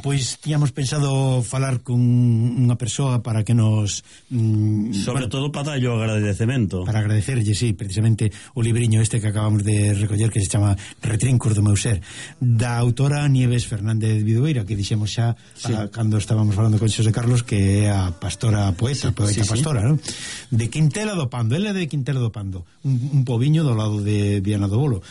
pois tiñamos pensado falar con unha persoa para que nos sobre todo para darlle o agradecemento, para agradecerlle, sí, precisamente o libriño este que acabamos de recoller, que se chama Retrincos do meu ser, da autora Nieves Fernández Vidueira, que dixemos xa cando estábamos falando con Xosé Carlos, que é a pastora poeta pastora, non? De Quintela do Pando. Ela é de Quintela do Pando, un pobiño do lado de Viana do Bolo,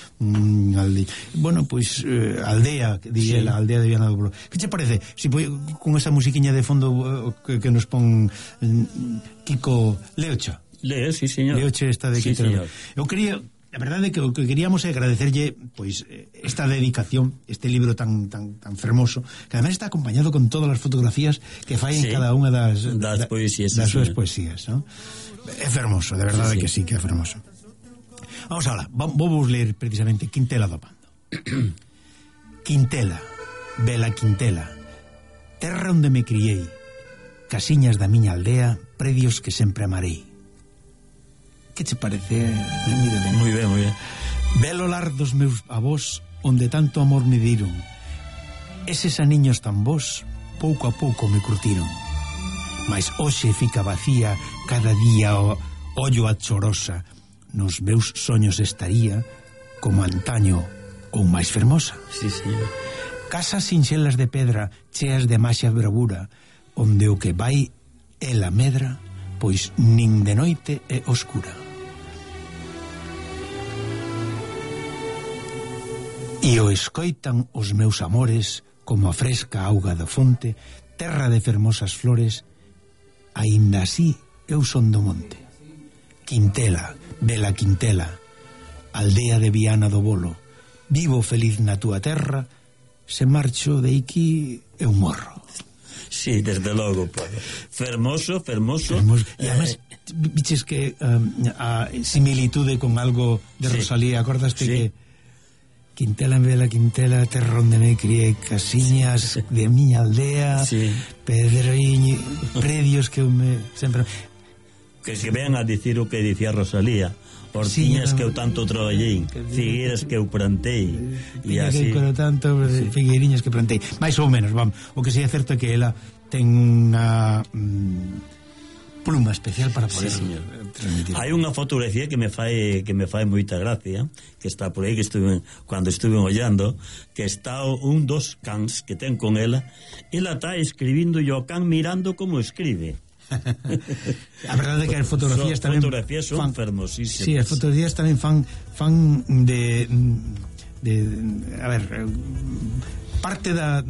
bueno, pois aldea, di ela, aldea de Viana do Bolo. Que che parece si con esa musiquiña de fondo que nos pon Kiko Leocha? Sí, señor. Leoche está de Quintela. Eu quería, a verdade é que o que queríamos é agradecerlle pois esta dedicación, este libro tan fermoso, que además está acompañado con todas as fotografías que fai en cada unha das poesías, das súas poesías, ¿no? É fermoso, de verdade que sí, que é fermoso. Vamos alá, vamos ler precisamente Quintela do Pando. Quintela, bela Quintela, terra onde me criei, casiñas da miña aldea, predios que sempre amarei. Que che parece? Moi ben, moi ben. Belo lar dos meus avós, onde tanto amor me diron. Eses aniños tan bons, pouco a pouco me curtiron. Mas hoxe fica vacía, cada día ollo a chorosa. Nos meus soños estaría como antaño ou máis fermosa. Sí, señor. Casas sinxelas de pedra, cheas de maxia bravura, onde o que vai é la medra, pois nin de noite é oscura. E o escoitan os meus amores como a fresca auga da fonte, terra de fermosas flores, aínda así eu son do monte. Quintela, bela Quintela, aldea de Viana do Bolo, vivo feliz na túa terra, se marcho de aquí eu morro. Sí, desde logo, fermoso. E además, biches que a similitude con algo de Rosalía, acordaste que Quintela, bela Quintela, terra onde me criei, casiñas de miña aldea, pedreiño, predios que eu me sempre... Que se vean a dicir o que dicía Rosalía, hortiñas que eu tanto traballei, figueiras que eu plantei, e así figueiriñas que plantei, máis ou menos, vamos. O que sí é certo é que ela ten unha pluma especial para poder transmitir. Hai unha fotografía que me fai moita gracia, que está por aí, que cando estuve ollando, que está un dos cans que ten con ela está escribindo e o can mirando como escribe. A verdade é que as fotografías tamén son fermosísimas. Sí, as fotografías tamén fan de a ver, parte da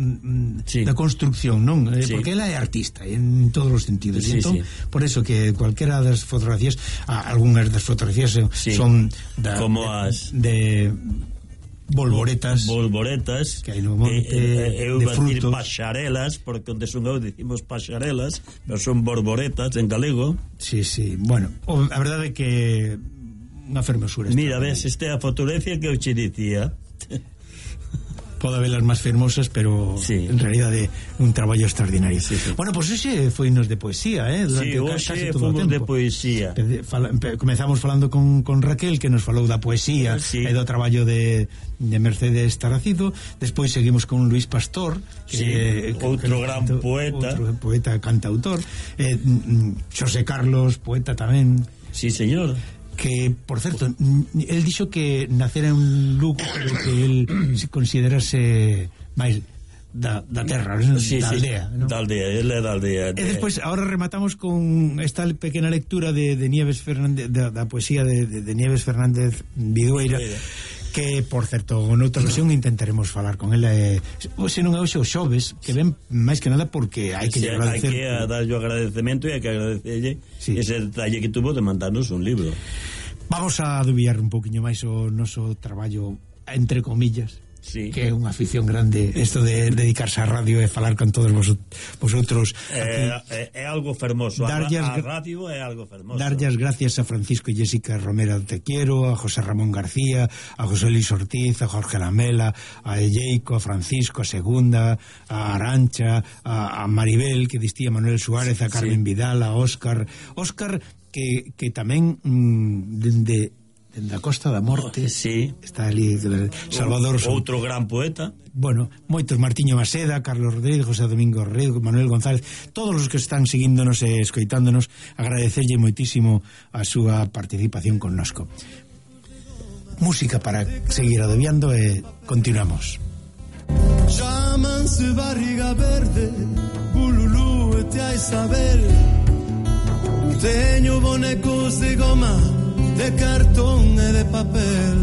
construcción, non? Porque ela é artista en todos os sentidos. Entón, por eso que cualquera das fotografías, algunhas das fotografías son como as de bolboretas que hai no monte, eu de vou decir frutos, paxarelas, porque onde son eu dicimos paxarelas, pero son borboretas en galego. Sí, bueno, a verdade é que unha fermosura. Mira, ves, esta é a fotografía que eu che dicía. Pode habelas máis fermosas, pero en realidade un traballo extraordinario. Bueno, pois hoxe foinos de poesía, hoxe fomos de poesía. Comezamos falando con Raquel, que nos falou da poesía e do traballo de Mercedes Taracido. Despois seguimos con Luis Pastor, outro gran poeta, outro poeta cantautor, Xosé Carlos, poeta tamén. Sí, señor. Que, por certo, el dixo que nacera en Lugo, pero que el se considerase máis da terra, da aldea, ¿no? Da aldea, ele é da aldea. E despois, ahora rematamos con esta pequena lectura de Nieves Fernández, da poesía de Nieves Fernández Vidueira, que, por certo, noutra ocasión intentaremos falar con ela, se non é hoxe os xoves, que ven máis que nada porque hai que agradecer. Hai que darlle o agradecemento e hai que agradecerlle ese detalle que tuvo de mandarnos un libro. Vamos a adubiar un poquinho máis o noso traballo, entre comillas, que é unha afición grande isto de dedicarse á radio e falar con todos vosotros. É algo fermoso, a radio é algo fermoso. Darlle as gracias a Francisco e Jessica Romero Te Quiero, a José Ramón García, a José Luis Ortiz, a Jorge Lamela, a Elleico, a Francisco, a Segunda, a Arancha, a Maribel, que distía Manuel Suárez, a Carmen Vidal, a Óscar que tamén de da Costa da Morte. Sí. Está ali Salvador outro gran poeta. Bueno, moitos, Martiño Maceda, Carlos Rodríguez, José Domingo Redo, Manuel González, todos os que están seguíndonos e escoitándonos, agradecerlle moitísimo a súa participación connosco. Música para seguir adobiando e continuamos. Chámanse barriga verde, bululú e te hai saber. Teño bonecos de goma, de cartón e de papel.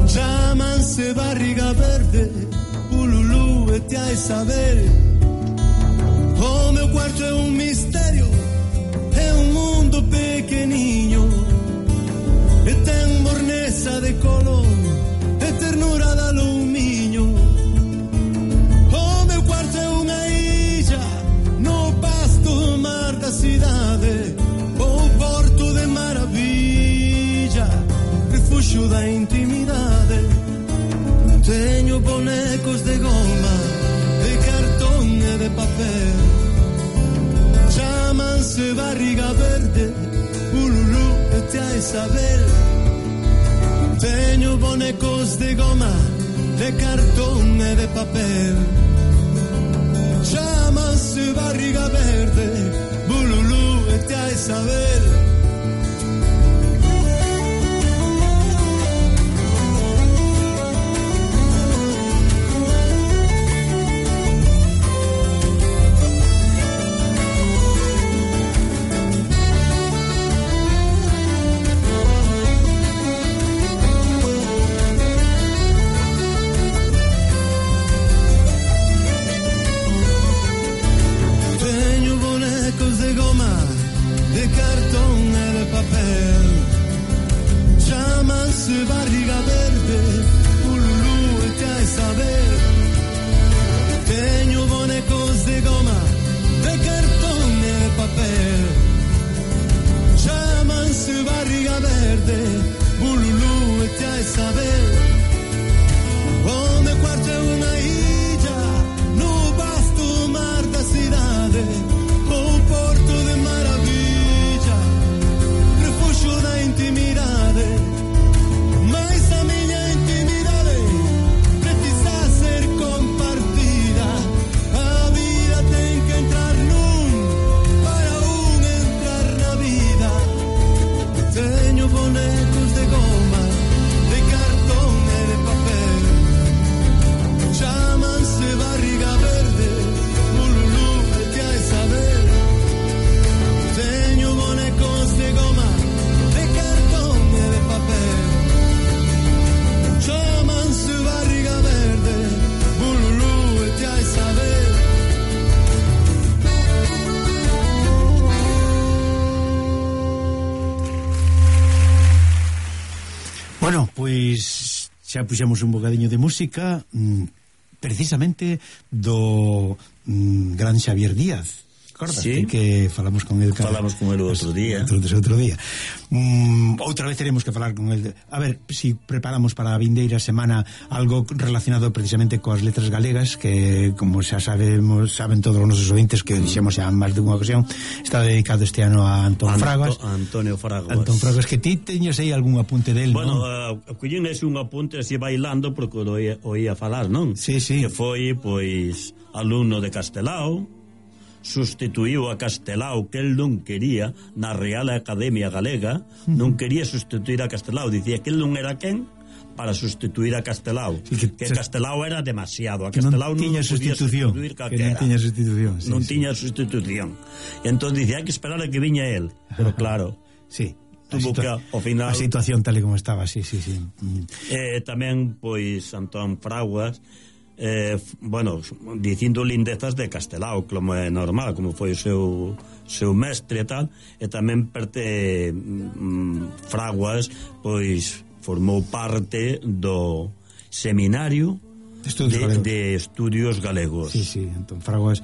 Chámanse barriga verde, bululú e te hai saber. O meu cuarto é un misterio, é un mundo pequeniño, e ten morneza de color, e ternura de aluminio. O meu cuarto é unha illa no vasto mar da cidade, o porto de maravilla, refuxo da intimidade. Teño bonecos de goma, de cartón e de papel. Chámanse barriga verde, ululú e te hai saber. Teño bonecos de goma, de cartón e de papel. Chámanse barriga verde, bululú e te hai saber. De cartón e de papel. Chámanse barriga verde, ululú e te hai saber. Teño bonecos de goma, de cartón e de papel. Chámanse barriga verde, ululú e te hai saber. O meu cuarto é unha illa no vasto mar da cidade, o porto de maravilla, refuxo da intimidade. Mais a miña intimidade precisa ser compartida. A vida ten que entrar nun para un entrar na vida. Teño bonecos de goma, de cartón e de papel. Chámanse barriga verde, ululú e te hai saber. Teño bonecos de goma, de cartón e de papel. Chámanse barriga verde, bululú e te hai saber. Bueno, pois xa puxemos un bocadiño de música, precisamente do gran Xavier Díaz. Sí. Que falamos con el outro día. Outro día. Outra vez teremos que falar con el. A ver, si preparamos para a vindeira semana algo relacionado precisamente coas letras galegas, que como xa saben todos os nosos ouvintes, que dixemos xa máis de unha ocasión, está dedicado este ano a Antonio Fraguas. Que ti teñes aí algún apunte del, bueno, non? collín ese un apunte así bailando, porque o oía falar, non? Sí. Que foi, pois, alumno de Castelao, sustituiu a Castelao, que el non quería, na Real Academia Galega, non quería sustituir a Castelao, dicía que el non era quen para sustituir a Castelao, que Castelao era demasiado, a Castelao non tiña sustitución, non tiña sustitución. E entón dicía, hai que esperar a que viña el, pero claro, sí, tuvo que ao final a situación tal e como estaba, sí. Tamén, pois, Antón Fraguas, bueno, dicindo lindezas de Castelao, como é normal, como foi o seu mestre e tal, e tamén Fraguas, pois, formou parte do seminario de estudios galegos. Sí, Antón Fraguas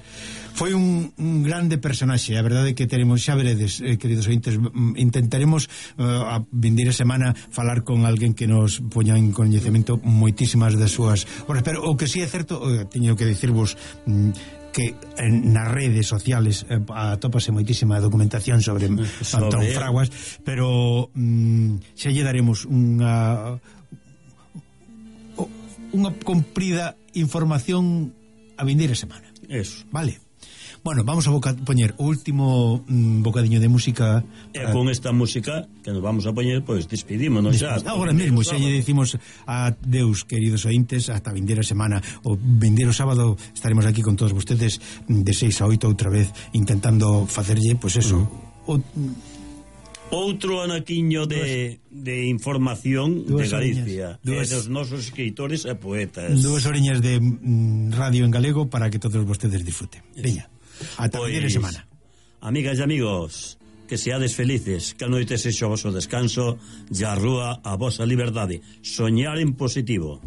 foi un grande personaxe. A verdade é que teremos, xa veredes, queridos ointes, intentaremos a vindeira semana falar con alguén que nos poña en coñecemento moitísimas das súas obras, pero o que sí é certo, teño que dicirvos que nas redes sociales atópase moitísima documentación sobre Antón Fraguas, pero xa lle daremos unha comprida información a vindeira semana. Eso. Vale. Bueno, vamos a poñer o último bocadiño de música. E con esta música que nos vamos a poñer, pois despedímonos xa. Agora mesmo, xa lle dicimos a Deus, queridos ointes, hasta a vindeira semana. O vindeiro sábado estaremos aquí con todos vostedes de 6 a 8 outra vez, intentando facerlle, pois eso, outro anaquiño de información de Galicia, e dos nosos escritores e poetas. 2 oreñas de radio en galego para que todos vostedes disfruten. Veña. Ata a semana. Amigas e amigos, que seades felices, que a noite sexa o voso descanso e a rúa a vosa liberdade. Soñar en positivo.